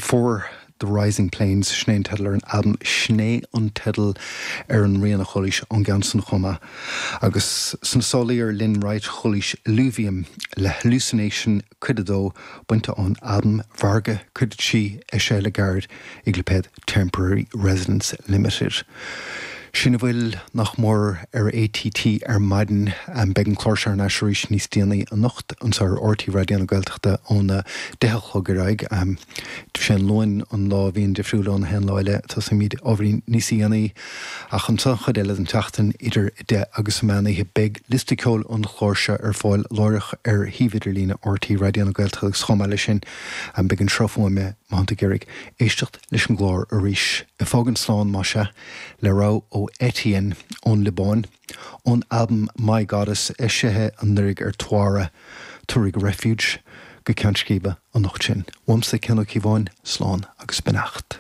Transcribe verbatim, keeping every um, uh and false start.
For the Rising Plains sin é an teideal ar an albam sin é an teideal ar an rian a chualaís ón gceann san chomh maith. Agus sna sálaí ar Lynn Wright chualaís Alluvium le Hallucination cuid a dó bainte ón albam Varga cuid a trí eisithe le gairid ag lipéad Temporary Residence Limited. Sin a bhfuil nach mór ar ATT ar maidin beidh an clár seo ar ais arís níos déanaí anocht anseo ar RTÉ Raidió na Gaeltachta óna deich a chlog ar aghaidh. Sé an Luan an lá a bhíonn difriúil ón haon lá eile tosaímid ábhairín níos déanaí ach an chuid eile den tseachtain idir deich agus meán oíche beidh liosta ceoil an chláir seo ar fáil láithreach ar shuíomh idirlín RTÉ Raidió na Gaeltachta agus chomh maith leis sin beidh an sruth fuaime má tá tú ag iarraidh éisteacht leis an gclár arís. Ag fágaint slán mar sin le rogha ó Etienne ón Liobáin, ón albam My Goddess eisithe anuraidh ar Tuara Tuairg Refuge go ceann scríbe anocht sin. Uaimse Cian Ó Cíobháin, slán agus beannacht.